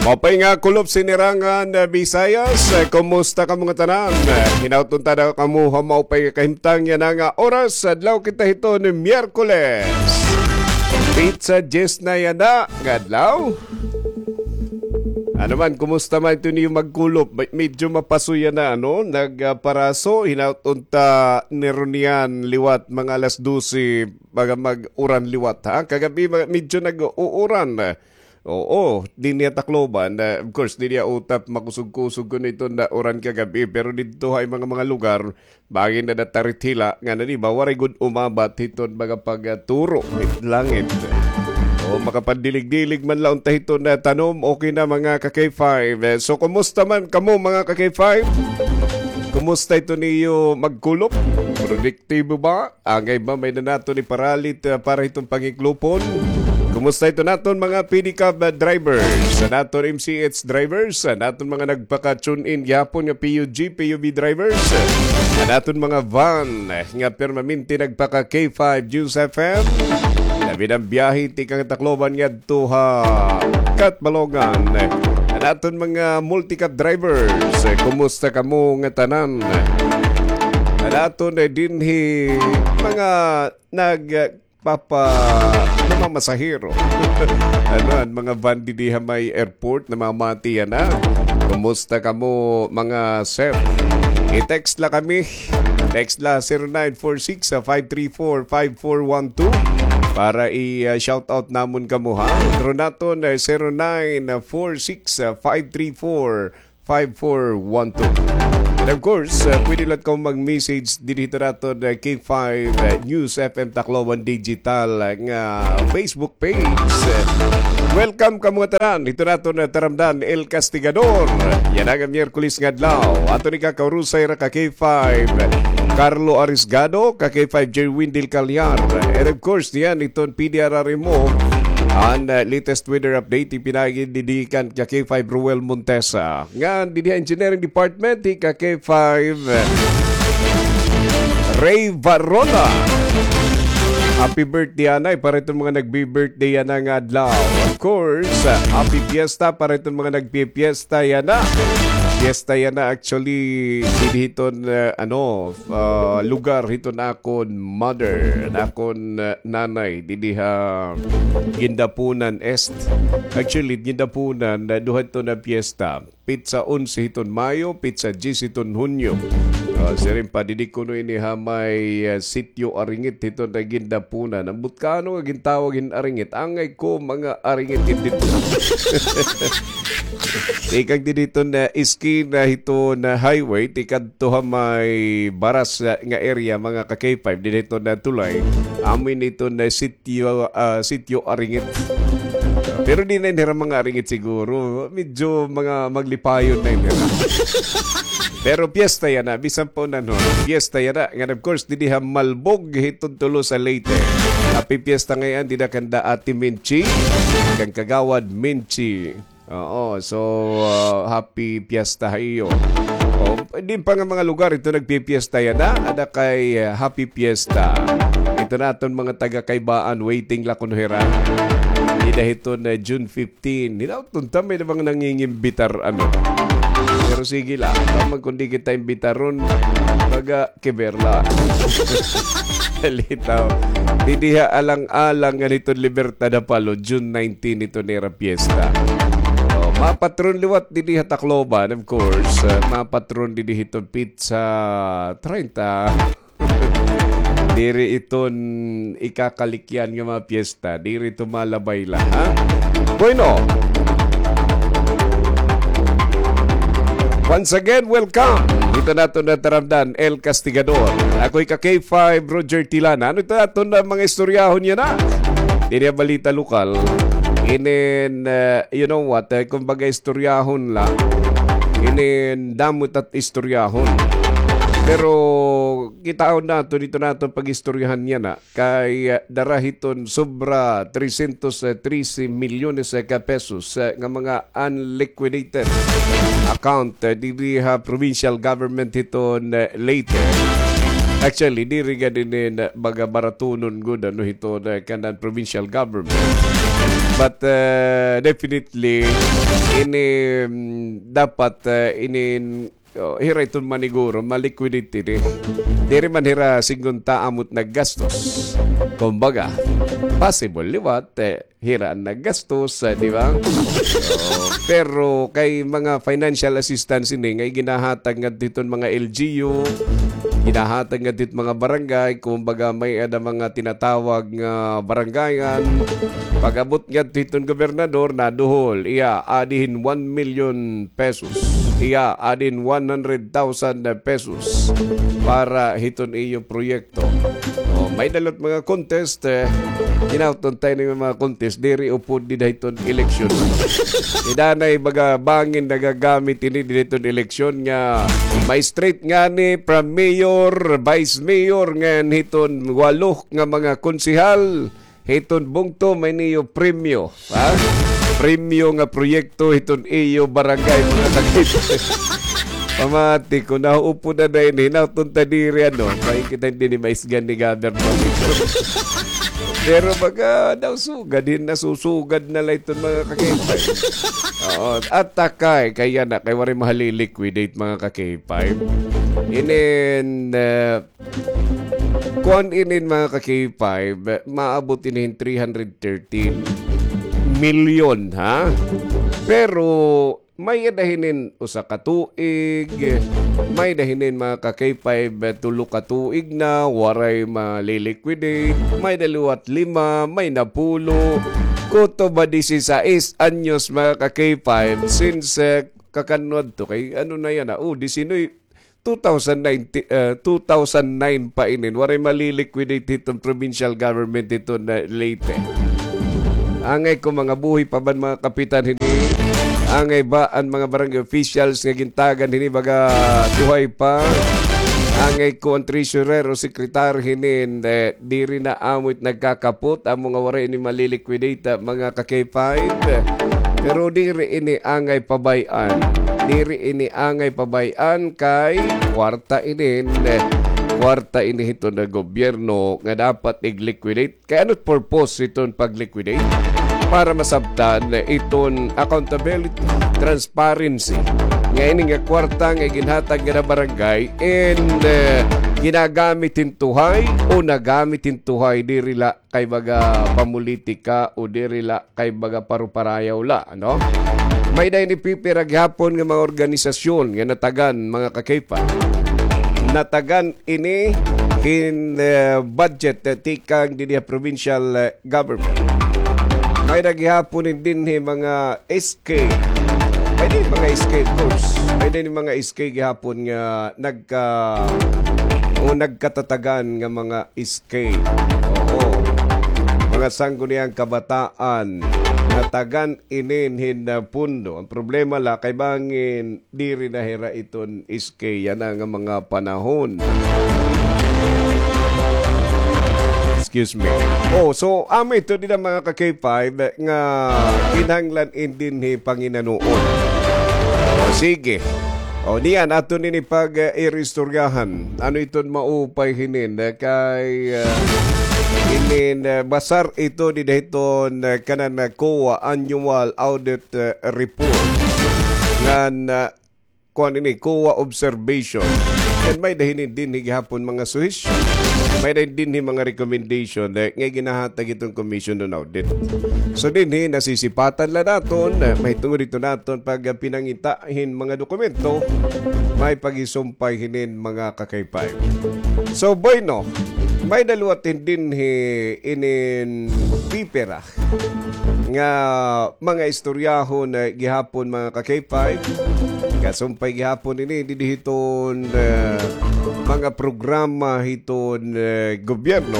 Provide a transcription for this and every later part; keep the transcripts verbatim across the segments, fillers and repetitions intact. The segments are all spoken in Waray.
Maupay nga kulop, Sinirangan, eh, Visayas. Eh, kumusta kamo ngatanan? Eh, hinaut unta daw kamo ha maupay nga kahimtang yana nga oras. Adlaw kita hiton Miyerkules. Petsa diyes na yana nga adlaw. Ano man, kumusta man iton iyo magkulop? Me-, medyo mapaso yana, ano? Nagparaso, hinaut unta niron yana liwat mga alas dose, baga mag-uran liwat, ha? Kagab-i, ma-, medyo nag-uuran. Oo, dinhi ha Tacloban, ah, of course, dinhi ha Utap, makusog-kusog kuno iton nauran kagab-i, pero didto ha mga, mga lugar, bangin na natarit hila, ngan ini ba, waray gud umabat hiton mga pagturo hit langit. O, makapandilig-dilig man la unta hiton tanom, okay na, mga ka-K five. Eh, so, kumusta man kamo, mga ka-K five? Kumusta iton iyo magkulop? Produktibo ba? Angay ba, may-ada naton iparalit, ah, para hiton pangiklopon? Kumusta iton aton mga pedicab, ah, drivers? An aton M C H drivers? An aton mga nagpaka-tune in gihapon nga P U G, P U V drivers? An aton mga van, eh, nga permanente nagpaka-K five News F M? Labi na an biyahe tikang Tacloban ngadto ha Catbalogan. An aton mga multicab drivers, eh, kumusta kamo ngatanan? An aton, eh, dinhi mga nagpapa-, namamasahero. Ano, an mga van didi ha may airport, namamati yana. Kumusta kamo, mga sir? I-text la kami. Text la zero nine four six five three four five four one two para i, ah, shout out namon kamo, ha. Pero naton, eh, zero nine four six five three four five four one two. And of course, uh, pwede la kamo mag-message didi hito naton, uh, K five, uh, News F M Tacloban Digital, uh, nga Facebook page. Uh, welcome kamo ngatanan hito naton, uh, taramdan, El Castigador. Yana nga Miyerkules nga adlaw. Aton ikakaurusay hira ka K five, Carlo Arisgado, ka K five Jerwin Del Callar. And of course, yana iton P D R R M O, an, uh, latest weather update, ipinaagi didi kan ka K five Ruel Montesa. Ngan didi ha Engineering Department, hi ka K five, uh, Ray Varona. Happy birthday, anay, para iton mga nagbi-birthday yana nga adlaw. Of course, uh, happy fiesta para iton mga nagpi-fiesta yana. Fiesta yana, actually, didi hiton, uh, ano, ah, lugar hiton akon mother, an akon, ah, nanay, didi ha Guindapunan Est. Actually, Guindapunan, ah, duha ito na piyesta. Petsa onse hiton Mayo, petsa diyes hiton Hunyo. Ah, siring pa, didi kuno ini ha may, ah, Sitio Aringit hiton na Guindapunan. Ambot ka ano nga gintawag hin Aringit? Angay ko, mga Aringit, didi. Tikang didi hiton na eskina hiton na highway, tikadto ha may Baras, ah, nga area, mga ka K five, didi hiton na tulay. Amo ini hiton na sitio, ah, Sitio Aringit. Pero di na ini hira mga Aringit siguro. Medyo mga maglipayon na ini hira. Pero piyesta yana, bisan pa unan, no? Piyesta yana. Ngan, of course, didi ha Malbog, hiton Tolosa, Leyte. Happy piyesta ngay-an dida kanda Ate Minchi, kan Kagawad Minchi. Oo, so, ah, happy fiesta ha iyo. O, din pa nga mga lugar, ito nagpipiesta yana, ada kay, ah, happy fiesta. Ito naton mga taga Kaybaan, waiting la kuno hira. Dida hiton, ah, June fifteen. Hinaut unta may na bang nangingimbitar, ano. Pero sige la, tama, kundi kita imbitaron, baga, Kiberla. Litaw. Didi ha alang-alang ngan hiton Libertad ha Palo, June nineteen ito nira piyesta. O, mapatron liwat didi ha Tacloban, of course. Uh, mapatron didi hiton petsa treinta. Diri iton ikakalikyan nga mga piyesta. Diri ito malabay la, ha? Bueno. Once again, welcome. Ito naton na taramdan, El Castigador. Ako'y ka K five, Roger Tilana. Ano ito naton na mga istoryahon yana? Diri ha balita lokal. Inin, uh, you know what, eh, kumbaga istoryahon la. Inin damo it at istoryahon. Pero kitaon naton, ito naton pag-istoryahan yana. Kay, ah, dara hiton sobra trescientos trece milyones ka pesos, ah, nga mga unliquidated account, ah, diri ha provincial government hiton, ah, Leyte. Actually, diri gad ini na mga baratunon gud, ano, hiton, ah, kanan provincial government. But, uh, definitely, ini, mm, dapat, uh, ini, oh, hira iton maniguro, ma-liquidate ini. Diri man hira sidngon ta amo it naggastos. Kumbaga, possible liwat, eh, hira an naggastos, eh, di ba? Oh, pero kay mga financial assistance ini nga iginahatag ngadto hiton mga L G U, ginahatag ngadto hit mga barangay, kumbaga may-ada mga tinatawag nga barangayan. Pag-abot ngadto hiton gobernador, naduhol, iya, adi hin one million pesos. Iya, adi hin one hundred thousand pesos para hiton iyo proyekto. Oh, may-ada liwat mga contest, eh. Hinaot unta ini nga mga contest, diri upod dida hiton eleksyon. Ida na ibaga bangin nagagamit ini dida hiton eleksyon nga ma-straight ngani from mayor, vice mayor, ngan hiton walo nga mga konsehal. Hiton bungto, may niyo premyo. Ha? Premyo nga proyekto hiton iyo barangay, mga kakit. Pamati ko, nahuupod na na ini, hinaot unta diri, ano, kay kita hindi ni maisgan ni Governor. Pero baga daw sugad, hin nasusugad na la iton mga kakipay. Oo, at takay, kaya na, kay waray mahali-liquidate, mga kakipay. Inin, eh, kuan inin, mga ka-K five, maabot ini hin three hundred thirteen million, ha? Pero may-ada hinin usa ka tuig, may-ada hinin, mga ka-K five, tulo ka tuig na, waray mali-liquidate, may-ada liwat lima, may napulo, kutob ha disisais anyos, mga ka-K five, since, eh, kakan-o adto kay ano na yana, oh, disinuybe, two thousand nineteen, eh, two thousand nine pa inin, waray mali-liquidate hiton provincial government hiton, eh, Leyte. Angay ko mga buhi pa ba an mga kapitan hini? Angay ba an mga barangay officials nga gintagan hini baga buhay pa? Angay ko an treasurer o secretary hinin, eh, diri na amo it nagkakapot, amo nga waray ini mali-liquidate, ah, mga ka-K five. Pero diri ini angay pabay-an. Diri ini angay pabay-an kay kwarta inin, eh, kwarta ini hiton gobyerno nga dapat ig-liquidate. Kay ano it purpose hiton pag-liquidate? Para masabtan, eh, iton accountability, transparency. Nga ini nga kwarta nga ginhatag nga barangay and, eh, ginagamit hin tuhay o nagamit hin tuhay diri la kay baga pamolitika o diri la kay baga paruparayaw la, ano? May-ada ini pipira gihapon nga mga organisasyon nga natagan, mga ka-K five. Natagan ini hin, eh, budget, eh, tikang dinhi ha provincial, eh, government. May-ada gihapon ini dinhi mga S K. May-ada ini mga S K, of course. May-ada ini mga S K gihapon nga nagka-, o nagkatatagan nga mga S K. Oo. Mga sangguniang kabataan, natagan inin hin, ah, pundo. An problema la kay bangin diri na hira iton S K yana nga mga panahon. Excuse me. Oh, so, amo ito dida, mga ka-K five, nga kinahanglan in dinhi panginanuon. O, sige. O, niyan, aton ini pag, eh, iristoryahan. Ano iton maupay hinin, eh, kay, eh, inin, eh, basar ito dida hiton, eh, kanan, eh, COA Annual Audit, eh, Report. Ngan, eh, kuan ini, COA observation. And may-ada hinin dinhi gihapon mga suhesyon. May-ada dinhi mga recommendation, eh, nga ginahatag hiton Commission on Audit. So, dinhi nasisipatan la naton, eh, mahitungod ito naton pagpinangita hin mga dokumento, may paghisumpay hinin mga ka-K five. So, bueno, may-ada liwat hin dinhi inin pipira nga mga istoryahon, eh, gihapon, mga ka-K five. Kasumpay gihapon ini didi hiton, eh, mga programa hiton, eh, gobyerno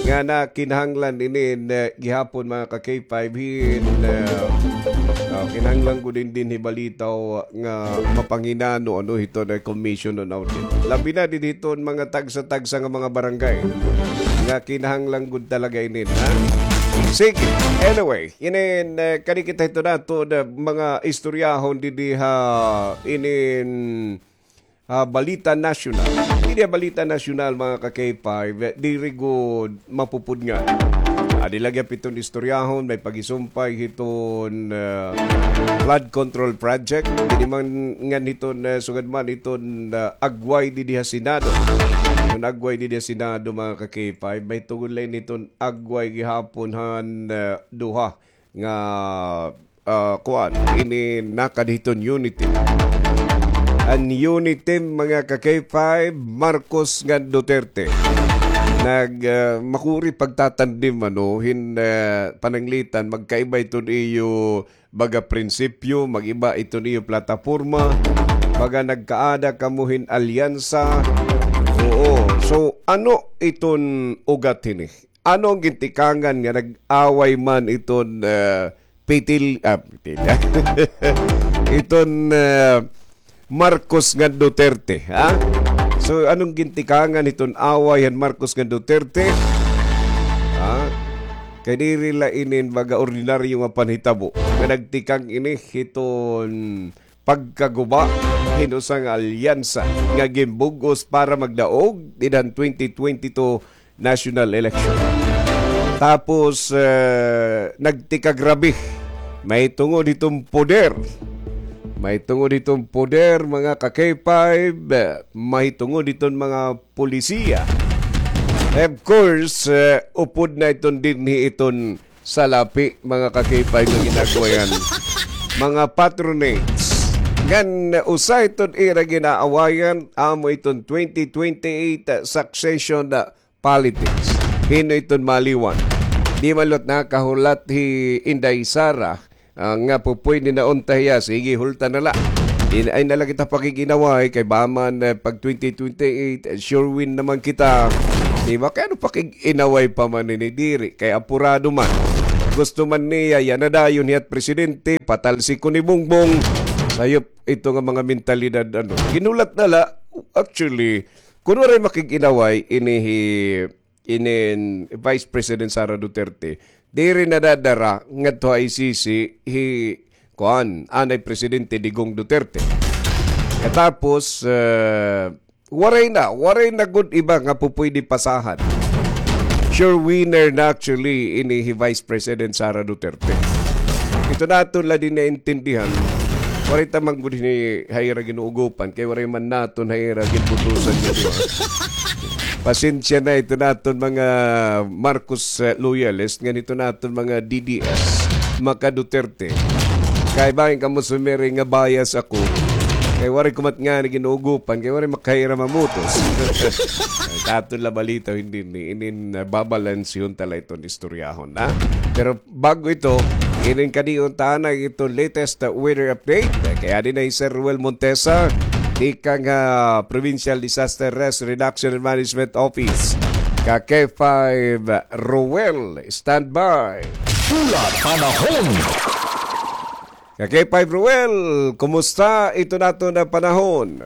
nga nakinahanglan ini, eh, gihapon, mga ka-K five, hin, eh, ah, kinahanglan gud dinhi balitaw nga mapanginano, ano, hiton, eh, Commission on Audit. Labi na didi hiton mga tagsa-tagsa nga mga barangay nga kinahanglan gud talaga inin, ha? Sige. Anyway, inin, eh, kani kita hito naton, eh, mga istoryahon didi ha inin, ah, Balita Nasyonal. Didi ha Balita Nasyonal, mga ka-K five, eh, diri gud mapupudngan. Ah, Adi la gihap iton istoryahon, may pagisumpay hiton, ah, flood control project. Didi man ngan hiton, ah, sugad man hiton, ah, agway didi ha Senado. Hiton agway didi ha Senado, mga ka-K five, mahitungod la ini hiton agway gihapon han, ah, duha nga, ah, kuan, ini nakad hiton UNITIM. An UNITIM, mga ka-K five, Marcos ngan Duterte. Nag, ah, makuri pagtatandim, ano, hin, ah, pananglitan, magkaiba iton iyo baga prinsipyo, mag-iba iton iyo plataporma, baga nagkaada kamo hin alyansa. Oo. So, ano iton ugat hini? Ano an gintikangan nga nag-away man iton, ah, Pitil-, ah, Pitil-, iton, ah, Marcos ngan Duterte, ha? So, ano an gintikangan hiton away han Marcos ngan Duterte? Ha? Kay diri la inin baga ordinaryo nga panhitabo nga nagtikang ini hiton pagkaguba hin usa nga alyansa nga ginbug-os para magdaog dida han twenty twenty-two national election. Tapos, eh, nagtikagrabe. Mahitungod hiton poder. Mahitungod hiton poder, mga ka-K five. Eh, mahitungod hiton mga pulisiya. Of course, eh, upod na iton dinhi iton salapi, mga ka-K five, nga ginagawayan. Mga patronates. Ngan, usa iton ira ginaawayan, amo iton twenty twenty-eight succession, ah, politics. Hin-o iton maliwan? Di man liwat nakahulat hi Inday Sara, ah, nga pupuydi na unta hiya, sige, hulta na la. Di na, ay na la kita pakig-inaway, kay baka man, eh, pag twenty twenty-eight, eh, sure win naman kita. Di ba? Kay ano pakig-inaway pa man ini, diri. Kay apurado man. Gusto man niya, yana dayon hiya't presidente, patalsik ko ni Bongbong. Sayop ito nga mga mentalidad, ano. Ginulat na la, actually, kun waray makig-inaway, ini hi inin Vice President Sara Duterte, diri nadadara ngadto ha I C C hi, kuan, anay Presidente Digong Duterte. Katapos, eh, waray na, waray na gud iba nga pupuydi pasahan. Sure winner na actually ini hi Vice President Sara Duterte. Ito naton la dinhi naintindihan. Waray ta man gud hini ha ira ginuugopan, kay waray man naton ha ira ginbutusan nga duha. Pasensya na ito naton mga Marcos, eh, loyalist, ngan ito naton mga D D S, maka Duterte. Kay bangin kamo sumiri nga bias ako. Kay waray ko man ngani ginuugopan, kay waray makaira mamutos. Katon la balita, hindi ni, inin, ah, babalansihon ta la iton istoryahon, ha? Pero bago ito, inin kadiyon ta na ito latest, uh, weather update. Kay adi na hi Sir Ruel Montesa, tikang, ah, Provincial Disaster Risk Reduction and Management Office. Ka K five, Ruel, standby. Pula Panahon. Ka K five, Ruel, kumusta ito naton nga panahon?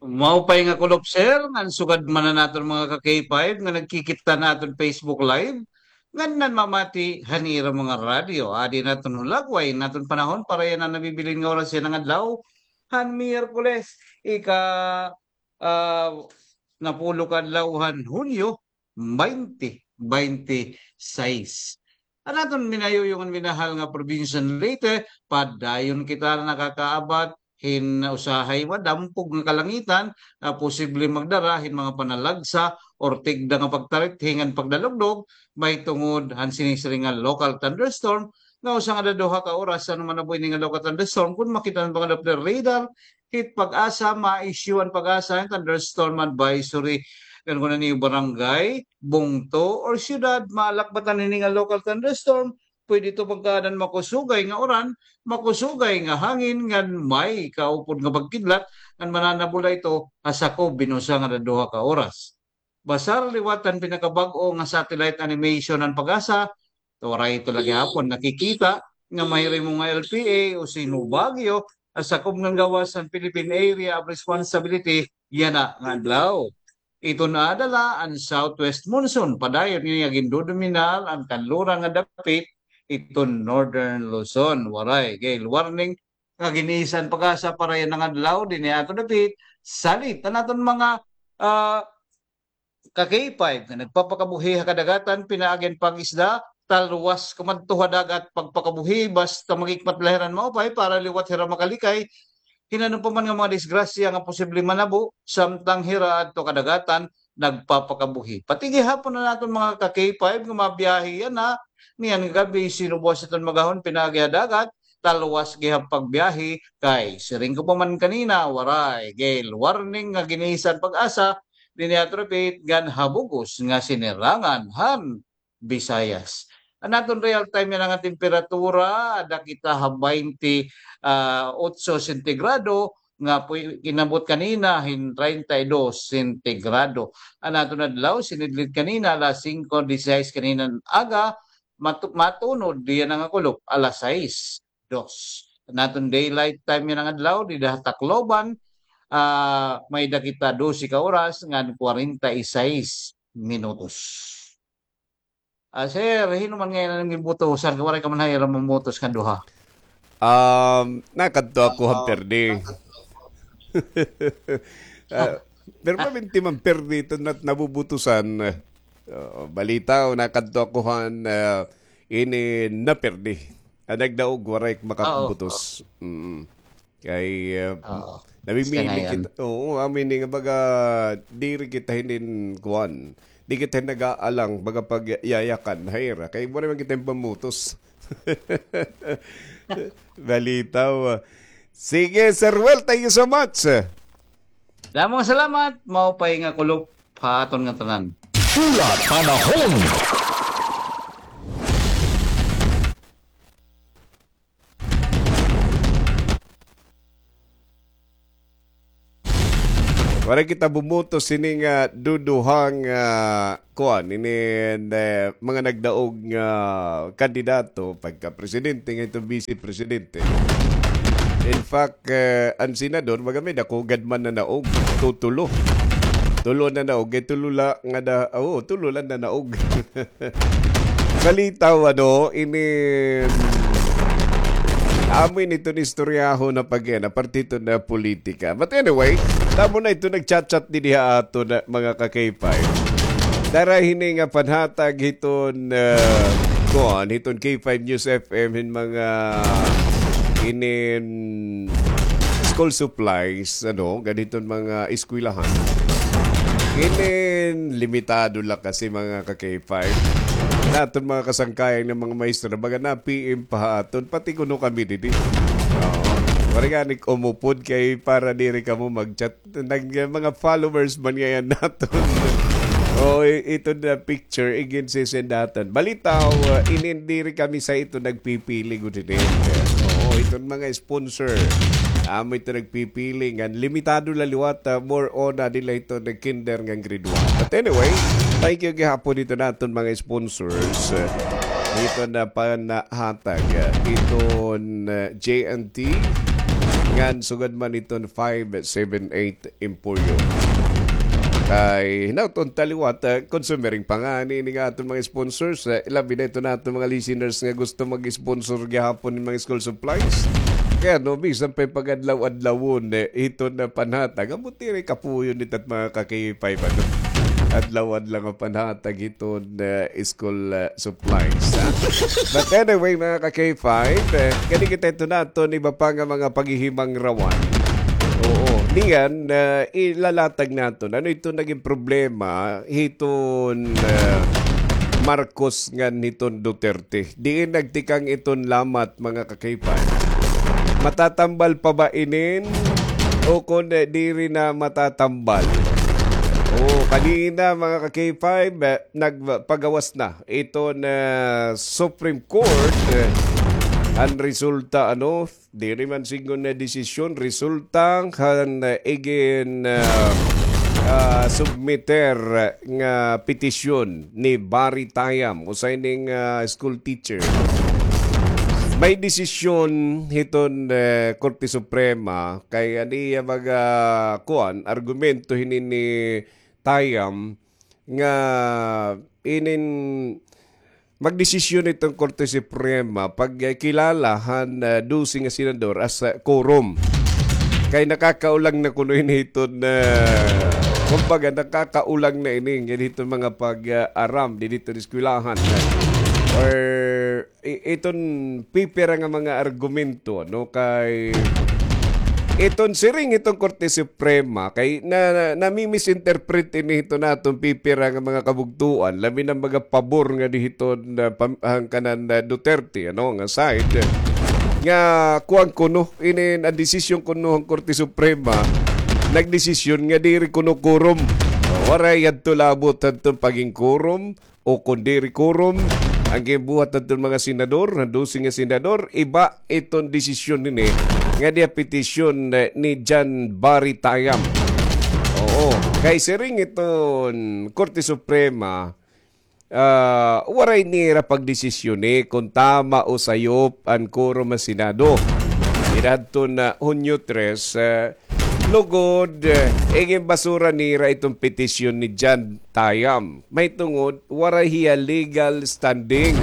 Maupay nga kulop, sir, ngan sugad man an aton mga ka K five nga nagkikita han aton Facebook Live, ngan nanmamati han ira mga radyo. Adi an aton hulagway han aton panahon para yana nabibilin nga oras yana nga adlaw, han Miyerkules, ika, ah, napulo ka adlaw han Hunyo, baynte baynte sais. An aton minayuyong ngan minahal nga probinsya han Leyte, padayon kita nakakaabat hin usahay madampog nga kalangitan nga posible magdara hin mga panalagsa or tigda nga pagtarithing ngan pagdalugdog mahitungod han sinisiring nga local thunderstorm nga usa ngada duha ka oras an manabuhi ini nga local thunderstorm. Kon makita han mga Doppler radar, hit PAGASA, ma-issue an PAGASA hin thunderstorm advisory. Ngan kon an iyo barangay, bungto, or syudad, maalakbatan hini nga local thunderstorm, pwede ito pagkaadan makusugay nga uran, makusugay nga hangin, ngan may kaupod nga pagkidlat, ngan mananabula ito ha sakob hin usa ngada duha ka oras. Basar liwat han pinakabag-o nga satellite animation han PAGASA, waray ito la gihapon nakikita nga mahirimo nga L P A o Sino Baguio ha sakob ngan gawas han Philippine Area of Responsibility yana nga adlaw. Iton adlaw an southwest monsoon, padayon ini nga gindodominar an kanluran nga dapit iton Northern Luzon. Waray gale warning nga gin-isa han PAGASA para yana nga adlaw dinhi ha aton dapit, salit han aton mga, ah, ka K five nga nagpapakabuhi ha kadagatan, pinaagi han pag-isda, talwas kumadto ha dagat, pagpakabuhi, basta maghikmat la hira hin maupay para liwat hira makalikay hin ano pa man nga mga disgrasya nga posible manabo, samtang hira adto kadagatan nagpapakabuhi. Pati gihapon an aton mga ka K five nga mabiyahe yana, niyan nga gab-i, sino buwas iton magahon pinaagi ha dagat, talwas gihap pagbiyahe, kay siring ko pa man kanina, waray gale warning nga ginisan PAGASA dinhi ha Tripit ngan ha bug-os nga sinirangan han Visayas. An aton real time yana nga temperatura, ada kita ha baynte, ah, otso sentigrado, nga puy-, inabot kanina hin treinta y dos sentigrado. An aton adlaw, sinidlid kanina, alas singko disisais kanina nga aga, matu-, matunod, yana nga kulop, alas sais dos. An aton daylight time yana nga adlaw, dida ha Tacloban, ah, may-ada kita dose ka oras ngan kwarenta y sais minutos. Ah, sir, hin-o man ngay-an an imo butusan, kay waray ka man ha ira mamutos nga duha. Um, nakadto ako han perdi. Ah, permanente man perdi iton nat-, nabubutusan. Ah, balitaw, nakadto ako han, ah, ini naperdi. An nagdaog, waray makabutos. Mm. Kay, ah, namimili kita. Oo, amin nga baga, diri kita hinin kuan. Di kita nag-aalang, baga pagyayakan, ha ira. Kay waray man kita hin pamutos. Balitaw. Sige, Sir Well, thank you so much. Damo nga salamat, maupay nga kulop ha aton ngatanan. Pula Panahon. Waray kita bumutos sini nga duduhang, ah, kuan, ini, eh, mga nagdaog nga kandidato, pagka presidente, ngan iton vice presidente. In fact, eh, an senador, baga may dako gad man nanaog, tutulo. Tulo nanaog, kay tulo la nga da-, oo, tulo la nanaog. Balitaw, ano, ini, amo ini iton istoryahon na pag-, aparte iton politika. But anyway, damo na iton nagchat-chat dinhi ha aton, mga ka-K five. Dara hini nga panhatag hiton, ah, kuan, hiton K five News F M hin mga inin school supplies, ano, ngan hiton mga eskwelahan. Inin limitado la kasi, mga ka-K five. An aton mga kasangkayan nga mga maestra, baga na-P M pa ha aton, pati kuno kami didi. Oo. Waray gani umupod kay para diri kamo mag-chat. Nag-, mga followers man ngay-an naton. O, i-, iton nga picture, igin sisendatan. Balitaw, ah, inin diri kami sa iton nagpipili gud hini. Oo, iton mga sponsor. Amo iton nagpipili ngan limitado la liwat, ah, more on, ah, dida la iton nag-kinder ngan grade one. But anyway, thank you gihapon hiton aton mga sponsors. Ah, iton nga panhatag, ah, iton, ah, J and T, ngan sugad man iton five seven eight Emporio. Kay hinaut-on ta liwat, ah, consumer pa ngani ini nga aton mga sponsors, ah, labi na iton aton mga listeners nga gusto mag-sponsor gihapon hin mga school supplies. Kay ano, bisan pa pag-adlaw-adlawon, eh, iton nga panhatag. Amo diri kapuyon nita mga ka-K five, ano? Adlaw-adlaw nga panhatag iton, eh, school, eh, supplies, ha? But anyway, mga ka-K five, eh, kani kita iton aton iba pa nga mga paghihimangrawan. Oo. Niyan, eh, ilalatag naton. Ano iton nagin problema hiton, eh, Marcos ngan hiton Duterte? Diin nagtikang iton lamat, mga ka-K five? Matatambal pa ba inin? O kon, eh, diri na matatambal? Oo, kanina, mga ka-K five, eh, nagpagawas na iton, eh, Supreme Court, eh, an resulta, ano, diri man sidngon nga desisyon, resulta han, eh, igin, ah, ah, submiter nga petisyon ni Barry Tayam, usa ini nga, ah, school teacher. May desisyon hiton, eh, Korte Suprema kay an iya mga, kuan, argumento hini ni Tayam nga inin magdesisyon iton Korte Suprema pagkilala han, ah, dose nga senador as, ah, quorum. Kay nakakaulang na kuno ini hiton, ah, Kumbaga, nakakaulang na ini nga dito mga pag-aram, dito eskwelahan. Or i-, iton pipira nga mga argumento, no? Kay iton siring iton Korte Suprema, kay na, na, nami-misinterpret ini hito naton pipira nga mga kabugtuan, labi na mga pabor nga dihiton na pam-, hangkanan na Duterte, ano, nga side, nga kuwan kuno, ini an desisyon kuno han Korte Suprema, nagdesisyon nga diri kuno quorum. Waray yadto labot hadton pagin quorum, o kon diri quorum, an ginbuhat hadton mga senador, han dose nga senador, iba iton desisyon nini, nga diha petisyon, eh, ni John Barry Tayam. Oo, kay siring iton Korte Suprema, ah, waray nira pagdesisyoni kon tama o sayop an quorum han Senado. Dida hadton Hunyo tres, eh, lugod, eh, iginbasura nira iton petisyon ni John Tayam. Mahitungod, waray hiya legal standing.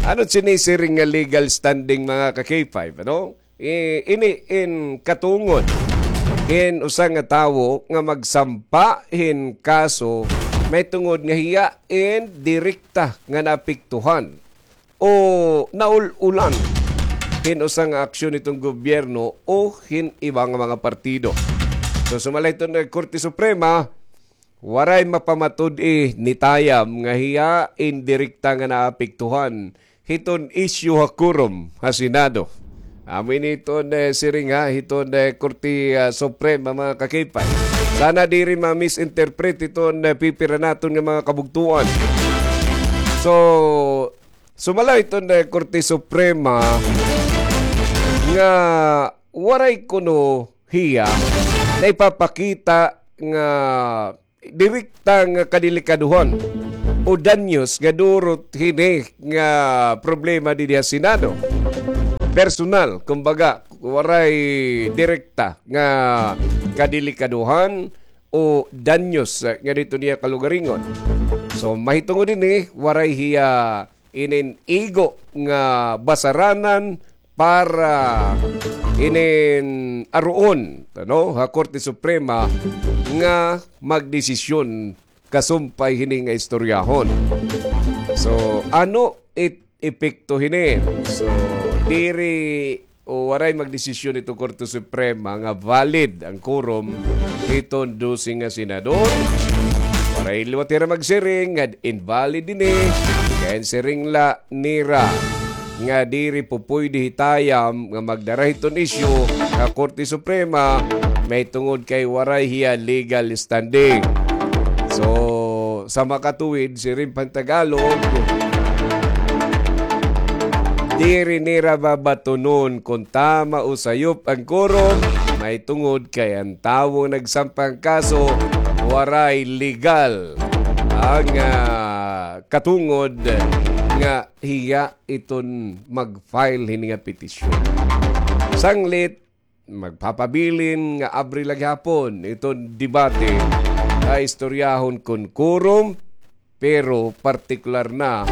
Ano sinisiring nga legal standing, mga ka-K five, ano? I-, ini in katungod hin usa nga tawo nga magsampa hin kaso mahitungod nga hiya in direkta nga naapektuhan o naul-ulan hin usa nga aksyon hiton gobyerno o hin iba nga mga partido. So, sumala hiton Korte Suprema, waray mapamatud-i ni Tayam nga hiya in direkta nga naapektuhan hiton isyu ha quorum ha Senado. Amo ini iton, eh, siring ha hiton, eh, Korte, ah, Suprema, mga ka-K five. Sana diri ma-misinterpret iton, eh, pipira naton nga mga kabugtuan. So, sumala iton, eh, Korte Suprema nga waray kuno hiya naipapakita nga direkta nga kadelikaduhan o danyos nga durot hini nga problema didi ha Senado. Personal, kumbaga, waray direkta nga kadelikaduhan o danyos, eh, nga didto niya kalugaringon. So, mahitungod ini, waray hiya inin igo nga basaranan para inin aruon, ano, ha Korte Suprema nga magdesisyon kasumpay hini nga istoryahon. So, ano it epekto hini? So, diri o waray magdesisyon iton Korte Suprema nga valid an quorum hiton dose nga senador. Waray liwat hira magsiring nga invalid ini, kay an siring la nira nga diri pupuyde hi Tayam nga magdara hiton isyu ha Korte Suprema, mahitungod kay waray hiya legal standing. So, sa makatuwid, siring pa hin Tagalog, diri nira babatunon kon tama o sayop an quorum, mahitungod kay an tawo nga nagsampa hin kaso waray legal an, ah, katungod nga hiya iton mag-file hini nga petisyon. Sanglit, magpapabilin nga abri la gihapon iton debate ha istoryahon kon quorum, pero partikular na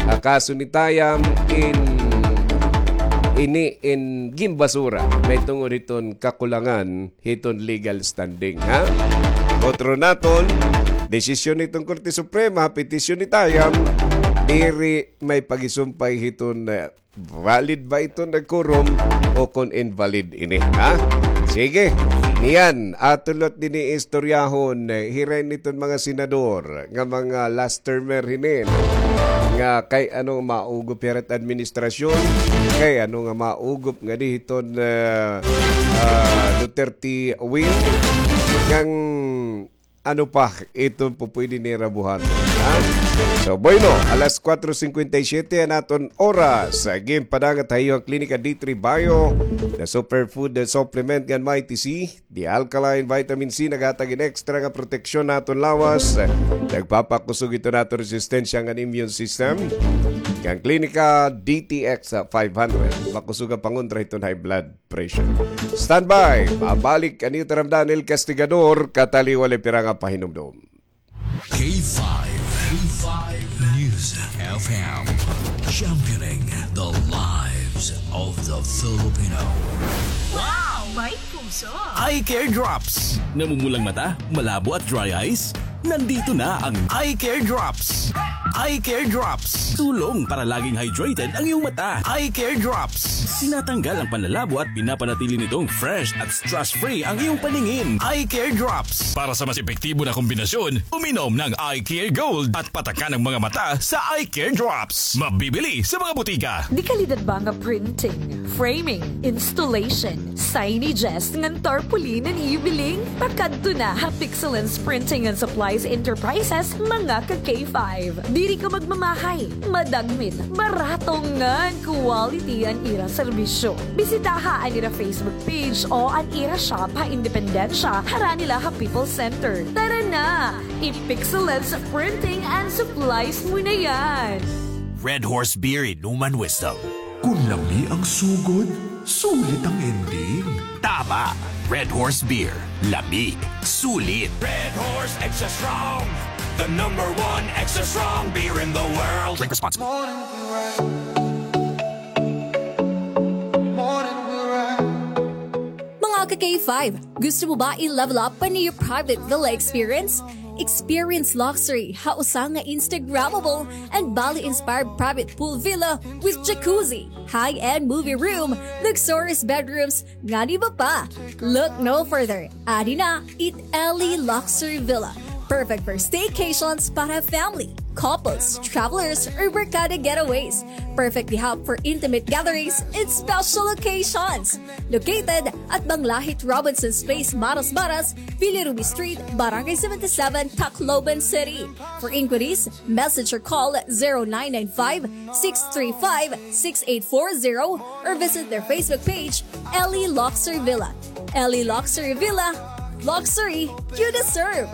ha kaso ni Tayam in ini in ginbasura mahitungod hiton kakulangan hiton legal standing, ha? Otro naton, desisyon hiton Korte Suprema, petisyon ni Tayam, diri may pagisumpay hiton, eh, valid ba iton quorum o kon invalid ini, ha? Sige, niyan, aton liwat dinhi istoryahon, eh, hira ini iton mga senador nga mga last termer hinin, nga kay ano maugop hira it administrasyon, kay ano nga maugop ngadi hiton, eh, ah, Duterte wing, ngan ano pa iton pupuyde nira buhaton, ha? So, bueno, alas kuwatro singkwenta y siyete an aton oras. Ginpadangat ha iyo an Klinika D three Bio, the superfood, the supplement ngan Mighty C, the alkaline vitamin C, naghatag hin extra nga proteksyon ha aton lawas. Nagpapakusog hiton aton resistensya ngan immune system. Ngan Klinika D T X five hundred, makusog nga pangontra hiton high blood pressure. Standby, mabalik an iyo taramdan, El Castigador, kataliwali pira nga pahinumdom. K five, K five News F M, championing the lives of the Filipino. Wow! May puso. Eye Care Drops. Namumulang mata, malabo at dry eyes? Nandito na ang Eye Care Drops. Eye Care Drops. Tulong para laging hydrated ang iyong mata. Eye Care Drops. Tinatanggal ang panlalabo at pinapanatili nitong fresh at stress-free ang iyong paningin. Eye Care Drops. Para sa mas epektibo na kombinasyon, uminom ng Eye Care Gold at patakan ang mga mata sa Eye Care Drops. Mabibili sa mga butika. Dekalidad ba nga printing, framing, installation, signages ngan tarpaulin an iyo biling? Pakadto na ha Pixelance Printing and Supplies Enterprises, mga ka K five. Diri ka magmamahay, madagmit, barato ngan quality an ira serbisyo. Bisitaha an ira Facebook page o an ira shop ha Independencia, harani la ha People's Center. Tara na! I-Pixelance Printing and Supplies mo na yan! Red Horse Beer, inuman wisdom. Kun lami ang sugod, sulit ang ending. Tama! Red Horse Beer. Lami. Sulit. Red Horse Extra Strong. The number one extra strong beer in the world. Drink responsibly. Mga ka K five, gusto mo ba i-level up an iyo private villa experience? Experience luxury ha usa nga Instagrammable and Bali-inspired private pool villa with jacuzzi, high-end movie room, luxurious bedrooms, ngan iba pa. Look no further. Adi na it Ellie Luxury Villa. Perfect for staycations para family, couples, travelers, or barkada getaways. Perfect gihap for intimate gatherings and special occasions. Located at Banglahit Robinson's Place, Marasbaras, Villa Ruby Street, Barangay seventy-seven, Tacloban City. For inquiries, message or call zero nine nine five, six three five, six eight four zero or visit their Facebook page, Ellie Luxury Villa. Ellie Luxury Villa, luxury you deserve.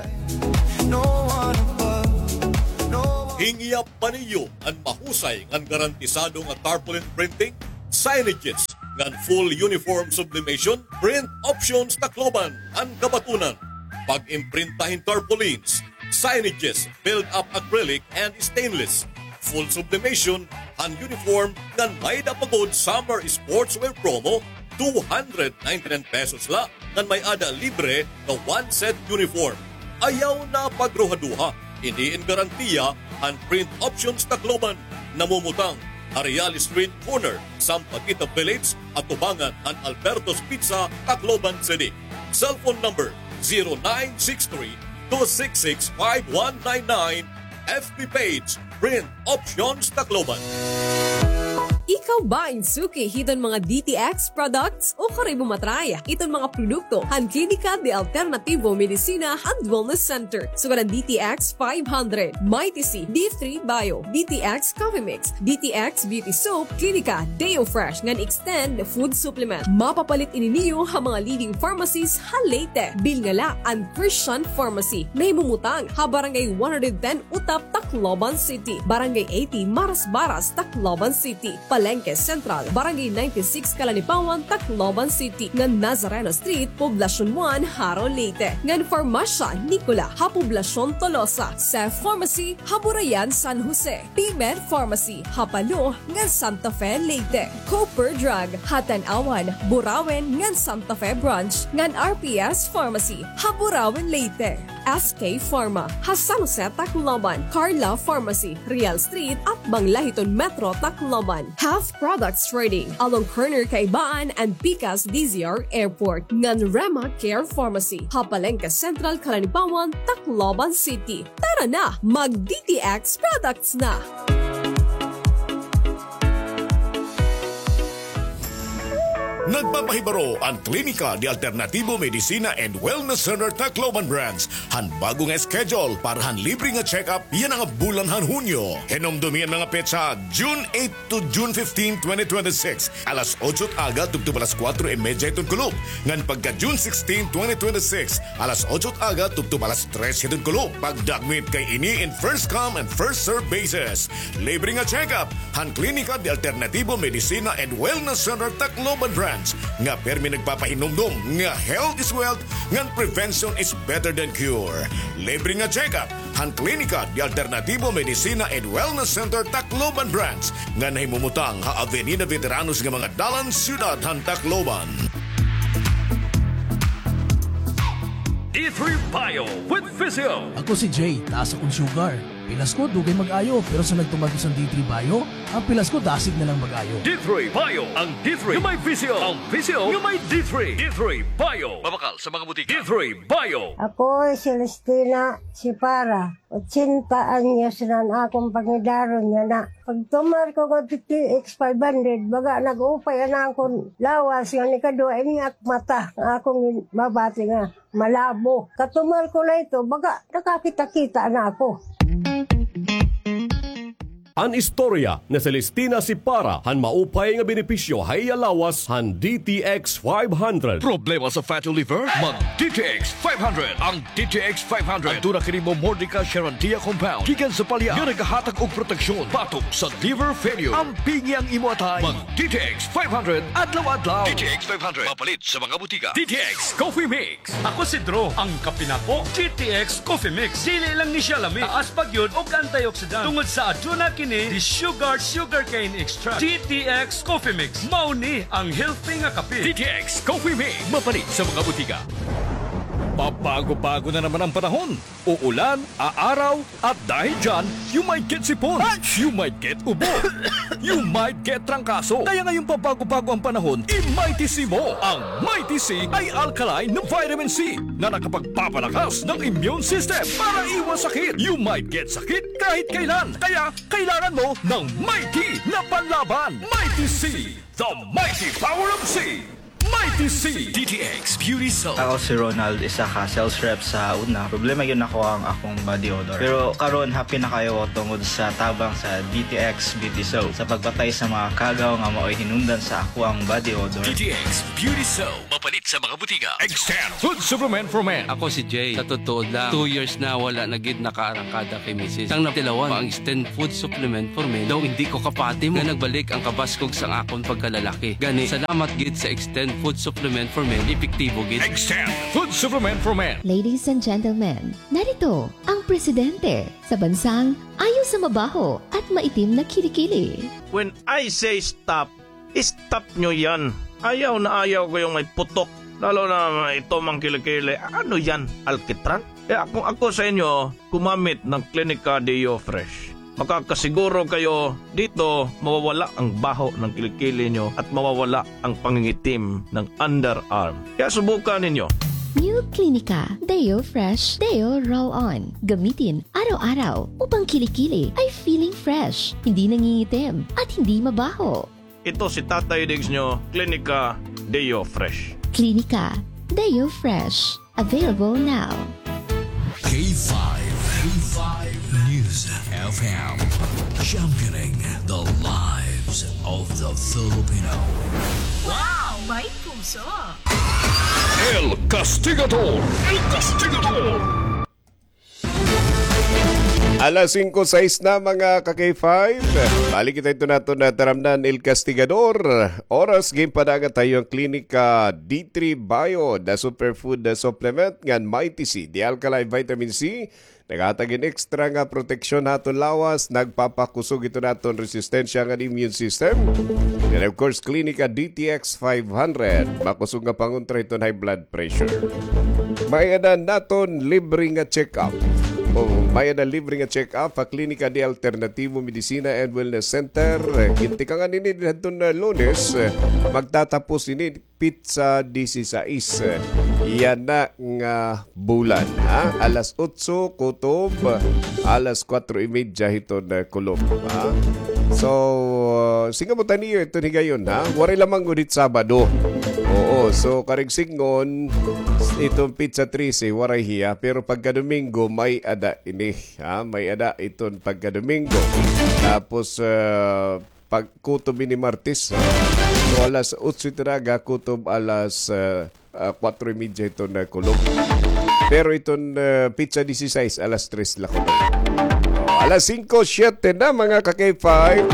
Hingyap pa niyo an mahusay ngan garantisado nga tarpaulin printing, signages, ngan full uniform sublimation, Print Options Tacloban an kabatunan. Pag-imprinta hin tarpaulins, signages, build-up acrylic and stainless, full sublimation han uniform ngan may-ada pa gud summer sportswear promo, two hundred ninety-nine pesos la ngan may-ada libre nga one set uniform. Ayaw na pagruhaduha, ini in garantiya han Print Options Tacloban. Namumutang ha Real Street corner, Sampaguita Village, atubangan han Alberto's Pizza, Tacloban City. Cellphone number zero nine six three, two six six, five one nine nine. F B page, Print Options Tacloban. Ikaw ba in suki hiton mga D T X products? O kari mo matry iton mga produkto han Klinika de Alternativo Medicina and Wellness Center, sugad an D T X five hundred, Mighty C, D three Bio, D T X Coffee Mix, D T X Beauty Soap, Klinika Deo Fresh ngan Extend Food Supplement. Mapapalit ini niyo ha mga leading pharmacies ha Leyte. Bilnga la an Christian Pharmacy. Nahimumutang ha Barangay one hundred ten Utap, Tacloban City, Barangay eighty Marasbaras, Tacloban City, Palengke Central, Barangay ninety-six Calanipawan, Tacloban City, ngan Nazareno Street, Poblacion one, Jaro, Leyte, ngan Farmacia Nicola ha Poblacion Tolosa, Seth Pharmacy ha Burayan, San Jose, P-Med Pharmacy ha Palo ngan Santa Fe, Leyte, Cooper Drug ha Tanauan, Burauen ngan Santa Fe Branch, ngan R P S Pharmacy ha Burauen, Leyte. S K Pharma ha San Jose, Tacloban, Carla Pharmacy, Real Street, atbang la hiton Metro Tacloban, Health Products Trading, along corner Caibaan and Picas D Z R Airport, ngan Rema Care Pharmacy ha Palengke Central, Calanipawan, Tacloban City. Tara na, mag-D T X products na! Nagpapahibaro an Klinika de Alternativo Medicina and Wellness Center Tacloban Branch han bag-o nga schedule para han libre nga check-up yana nga bulan han Hunyo. Hinumdomi an mga petsa, June eight to June fifteen, twenty twenty-six, alas otso it aga tubtob alas kuwatro y medya hiton kulop, ngan pagka June sixteen, twenty twenty-six, alas otso it aga tubtob alas tres hiton kulop. Pagdagmit kay ini in first come and first serve basis. Libre nga check-up han Klinika de Alternativo Medicina and Wellness Center Tacloban Branch, nga pirmi nagpapahinumdom nga health is wealth ngan prevention is better than cure. Libre nga check-up han Klinika de Alternativo Medicina and Wellness Center Tacloban Branch, nga nahimumutang ha Avenida Veteranos nga mga dalan, siyudad han Tacloban. D three Bio with Physio. Ako si Jay, taas akon sugar. Pilas ko, dugay mag-ayo, pero sa nagtumar ko sa D three Bio, ang pilas ko dasig na lang mag-ayo. D three Bio, ang D three nga may Physio, ang Physio nga may D three. D three Bio. Mabakal sa mga butika. D three Bio. Ako si Celestina Sipara. Ochenta anyos na an akon pangidaron yana. Pagtumar ko nga D T X five hundred, baga nag-upay an akon lawas nga nikaduha ini ak mata nga akon mabati nga malabo. Katumar ko na ito, baga nakakita-kita na ako. An istorya ni Celestina Sipara han maupay nga benepisyo ha iya lawas han D T X five hundred. Problema sa fatty liver? Mag D T X five hundred. Ang D T X five hundred. Aduna kini Momordica Charantia compound gikan sa palya nga nagahatag og proteksyon batok sa liver failure. Ampingi ang imo atay. Mag D T X five hundred adlaw-adlaw. D T X five hundred. Mapalit sa mga butika. D T X Coffee Mix. Ako si Drew, ang kape nako, D T X Coffee Mix. Dili lang ni siya lami, taas pa gyud og antioxidant tungod sa aduna kini di sugar, sugarcane extract. D T X Coffee Mix, mao ni ang healthy nga kape. D T X Coffee Mix, mapalit sa mga butika. Pabago-bago na naman ang panahon. Uulan, aaraw, at dahil dyan, you might get sipon. You might get ubo. You might get trangkaso. Kaya ngayong pabago-bago ang panahon, i-Mighty C mo. Ang Mighty C ay alkaline na vitamin C na nakapagpapalakas ng immune system para iwas sakit. You might get sakit kahit kailan. Kaya kailangan mo ng Mighty na panlaban. Mighty C, the mighty power of C. Mighty C. D T X Beauty Soap. Ako si Ronald, isa ka sales rep sa una. Problema gyud nako ang akong body odor. Pero karon, happy na kaayo tungod sa tabang sa D T X Beauty Soap sa pagpatay sa mga kagaw nga maoy hinungdan sa akoang body odor. D T X Beauty Soap. Mapalit sa mga butika. Extend Food Supplement for Men. Ako si Jay. Sa tutuod lang, two years na wala na gid nakaarangkada kay misis. Sang natilawan pa ang Extend Food Supplement for Men, daw hindi ko kapati mo nga nagbalik ang kabaskog sang akon pagkalalaki. Gani, salamat gid sa Extend Food Supplement for Men, epektibo gid. Extend Food Supplement for Men. Ladies and gentlemen, narito ang presidente sa bansang ayaw sa mabaho at maitim na kilikili. When I say stop, stop nyo yan. Ayaw na ayaw ko yung may putok. Lalo na ito mang kilikili. Ano yan? Alkitran? Kaya kung ako sa inyo, gumamit ng Clinica Deo Fresh. Makakasiguro kayo dito mawawala ang baho ng kilikili nyo at mawawala ang pangingitim ng underarm. Kaya subukan ninyo. New Clinica Deo Fresh Deo Roll On. Gamitin araw-araw upang kilikili ay feeling fresh, hindi nangingitim, at hindi mabaho. Ito si Tatay Diggs nyo, Clinica Deo Fresh. Clinica Deo Fresh. Available now. K five, K five News F M, championing the lives of the Filipino. Wow! May puso! El Castigador! El Castigador! Alas singko sais na, mga ka-K five. Balik kita ito naton na taramnan, El Castigador. Oras, ginpadagan ta iyo an Klinika D three Bio, the superfood, the supplement ngan Mighty C, the alkaline vitamin C. Naghatag hin extra nga proteksyon ha aton lawas, nagpapakusog ito naton resistensya ngan immune system. And of course, Klinika D T X five hundred, makusog nga pangontra hiton high blood pressure. May-ada naton libre nga check-up. O, may-ada libre nga check-up ha Klinika de Alternativo Medicina and Wellness Center. Gintikangan ini dinhi hadton, ah, Lunes. Magtatapos ini pitsa disisais. Yana nga bulan, ha? Alas otso kutob alas kuwatro y medya hiton, ah, kulop, ha? So, uh, singamot niyo iton higayon, ha? Waray lamang gud hit Sabado. Oo, so karig sidngon, iton pitsa trese, waray hiya. Pero pagka Domingo, may-ada ini, ha? May-ada iton pagka Domingo. Tapos, uh, pag kutob ini Martes. So, alas otso ito na aga, kutob alas, ah, ah, kuwatro y medya ito na kulop. Pero iton, ah, pitsa disisais, alas tres la kutob. O, alas singko siyete na, mga ka-K five.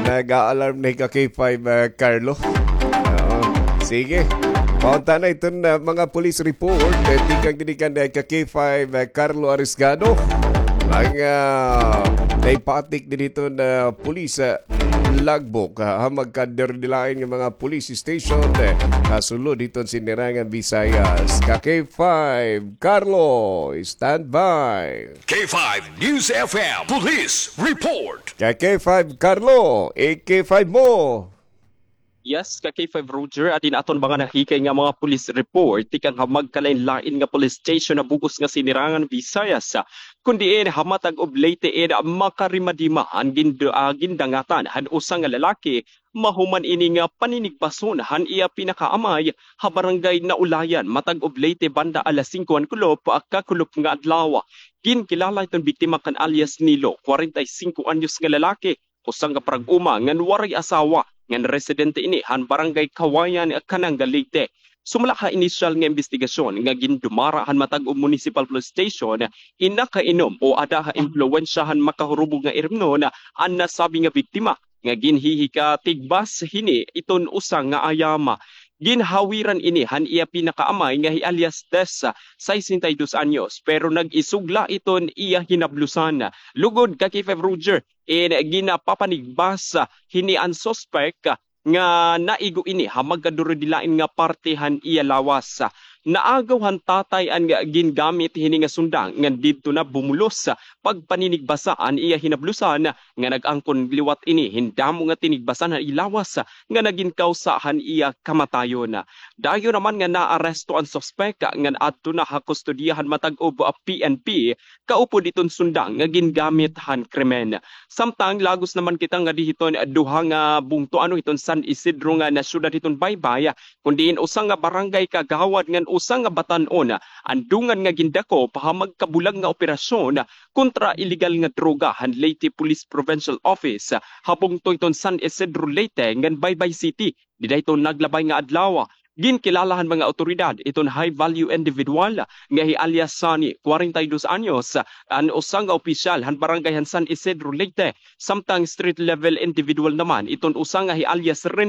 Nag-a-alarm na hi ka-K five, ah, Carlo. Oo. Sige. Paunta na iton, ah, mga police report. Eh, tikang dinikan na ka-K five, ah, Carlo Arisgado. Mga, ah, naipatik din ito na police, ah, logbook, ha, ha magkadirudilain nga mga police station, eh, ha sulod hiton Sinirangan Visayas. Ka K five, Carlo, stand by. K five News F M Police Report. Ka K five, Carlo, i K five mo. Yes, ka K five Roger, adi na aton mga nahikay nga mga police report tikang ha magkalain-lain nga police station ha bug-os nga Sinirangan Visayas, kun diin ha Matag-Ublate in makarimadima an gin-, ah, gindangatan han usa nga lalaki mahuman ini nga paninigbason han iya pinakaamay ha barangay Naulayan, Matag-Ublate, banda alas singko han kulop, ah, kakulop nga adlaw. Ginkilala iton biktima kan alias Nilo, kwarenta y singko anyos nga lalaki, usa nga parag-uma ngan waray asawa, ngan residente ini han Barangay Kawayan, Kananga, Leyte. Sumala ha inisyal nga imbestigasyon nga gindumara han Matag-Ub Municipal Police Station, in nakainom o ada ha impluwensya han makahurubog nga irimnon an nasabi nga biktima nga ginhihikatigbas hini iton usa nga ayama. Ginhawiran ini han iya pinakaamay nga hi alias Tess, sesenta y dos anyos, pero nag-isugla iton iya hinablusan. Lugod ka K five Roger, in ginapapanigbas hini an suspek nga naigo ini ha magkadurudilain nga parte han iya lawas. Naagaw han tatay an gingamit hini nga sundang ngan didto na bumulos pagpaninigbasa an iya hinablusan nga nag-angkon liwat ini hin damo nga tinigbasan han iya lawas nga nagin kawsa han iya kamatayon. Dayon naman nga naaresto an suspek ngan adto na ha kustodiya han Matag-Ub P N P kaupod iton sundang nga gingamit han krimen. Samtang lagos naman kita ngadi hiton duha nga bungto ano hiton San Isidro nga nasyudad hiton baybay, kun diin usa nga barangay kagawad ngan usa nga batan-on an dungan nga gindakop ha magkabulag nga operasyon kontra iligal nga droga han Leyte Police Provincial Office ha bungto hiton San Isidro, Leyte ngan Baybay City. Dida hiton naglabay nga adlaw, ginkilala han mga awtoridad iton high value individual nga hi alias Sunny, kwarenta y dos anyos, an usa nga opisyal han barangay han San Isidro, Leyte, samtang street level individual naman iton usa nga hi alias Rene,